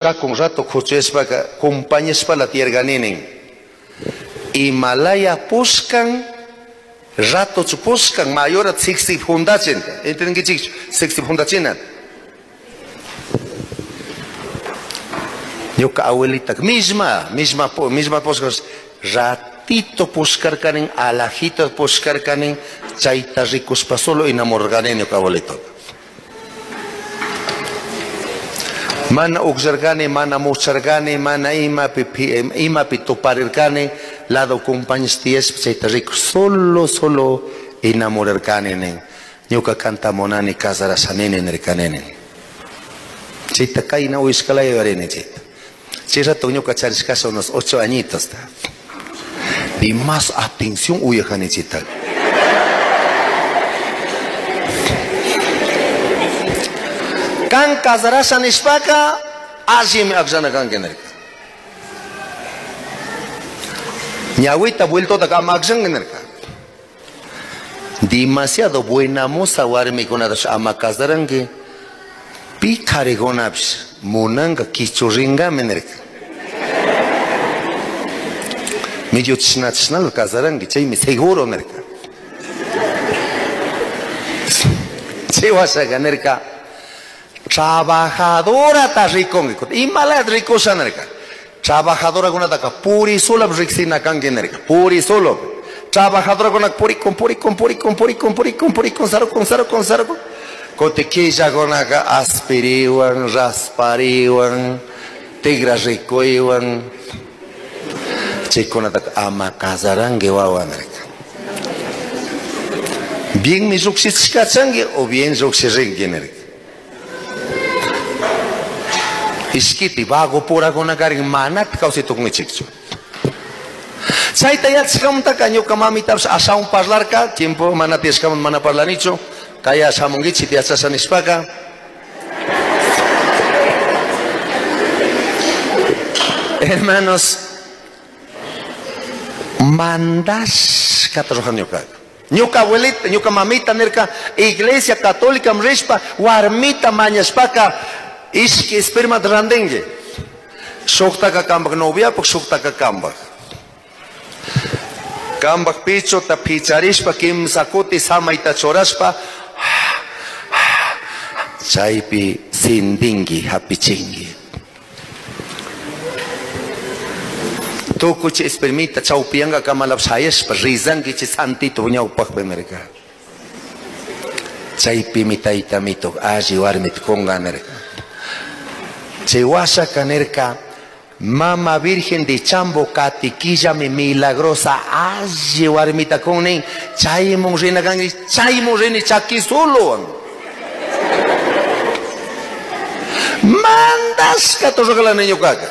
Cun rato kuchuyashpaka compañashpala tiyarkani nin. Imalaya pushkan ratochu pushkan mayora siksi fundachin. Entendinkichikchu? Siksi fundachina. Ñuka abuelita misma, misma, misma pushkan ratito pushkarkanin, alajito pushkarkanin, chayta rikuspa solo enamorarkani ñuka abuelito. Mana ukllarkani, mana mucharkani, mana imapi, imapi tuparirkani, lado compañeros tiyashpa chayta rikus solo, solo enamorarkani nin. Ñuka kanta munani casarashanini nirkani nin. Chayta kayna uyashkalaya yuyarini chayta. Chay rato ñuka charishkasha unos 8 añitos. Y más atención uyajani chayta. Kan casarasha nishpaka allimi akllana kanki nirka. Ñawita vueltota ama akllanki nirka. Demasiado buena moza warmikunatash ama casaranki. Pi karikunapish munanka kichurrinkami nirka. Medio chishna chishnala casaranki, chaymi seguro nirka. Chay washaka nirka, trabajadora ta rikunki. Imalata rikusha nirka. Trabajadora kunataka puri solo riksina kanki nirka. Puri solo. Trabajadora kunaka purikun, purikun, purikun, purikun, purikun, purikun, sarukun, sarukun, sarukun. Kuti killakunaka aspiriwan, raspariwan, tigra rikuywan. Chaykunataka ama casaranki wawa nirka. Bien mi llukshichishkachanki o bien llukshirinki nirka. Ishkiti vago purakunakarin manata kawsay tukunkichikchu. Chayta yachashkamantaka ñuka mamitapish ashawan parlarka, tiempo mana tiyashkamanta mana parlanichu, kaya shamunkichik yachasha nishpaka. Hermanos, mandashkata rurani ñukaka. Ñuka abuelita, ñuka mamita nirka, Iglesia Católica rishpa, warmita mañashpaka, ishki espermata rantinki. Shuktaka kampak noviapak, shuktaka kampak. Kampak pichota picharishpa, kimsa kuti samayta churashpa, chaypi sindinki, hapichinki. Tukuy chay espermita chawpiyanka kamalap shayashpa, rizanki chay santito ñawpakpi nirka. Chaypimi tayta mito alli warmita kunka nirka. Chay washaka nirka, Mama Virgen de Chambo katikillami milagrosa alli warmita kunnin, chaymun rina kanki, chaymun rini chakisuluwan. Mandashka turrukalani ñukaka.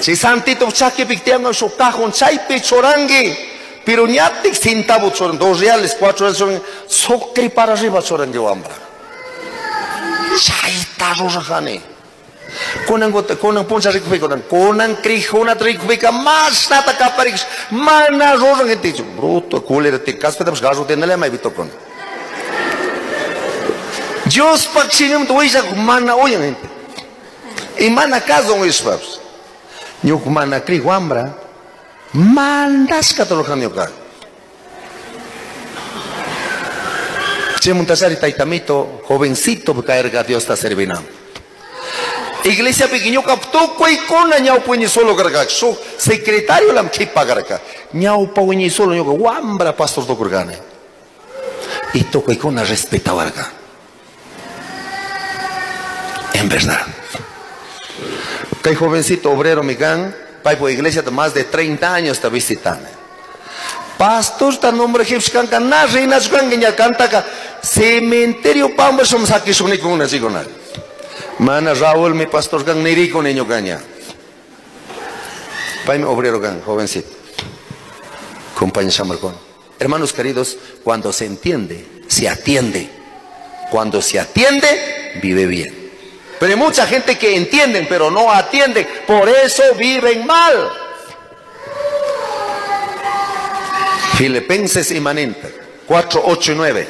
Chay santito chakipik tiyangan shuk cajón chaypi churanki, pero ñatik centavo churan, 2 reales, 4 reales churanki, sucre para arriba churanki wambra. Chayta rurajani. Kunan gota, kunan puncha rikupika, kunan, kunan krijuna rikupika, mashnata kaparikish, mana ruran gente, bruto, culera, te caspita, pues, garro, te nalema, evito con. Dios pak shinim tu huilla, mana oyen gente. Y mana caso un ispaps. Ñuk mana kri wambra, mandashka torojan ñuka. Che muntasari taitamito, jovencito, caerga Dios ta servinam. Iglesia pequeñoca, tukuykuna ñawpa solo karka, su secretario lam chipa karka. Ñawpa solo ñuka wambra pastor tukurkani. Y tukuykuna respetawarka. En verdad. Kay jovencito obrero mikan, paipo iglesia más de 30 años está visitando. Pastor ta nombre egipcio na reina kanka ña kantaka cementerio pamba som sakishunikuna chikuna. Mana Raúl mi pastor kan nirico niño caña. Paime obrero kan, jovencito. Compañero Samarcón. Hermanos queridos, cuando se entiende, se atiende. Cuando se atiende, vive bien. Pero hay mucha gente que entienden, pero no atienden. Por eso viven mal. Filipenses inmanente, 4, 8 y 9.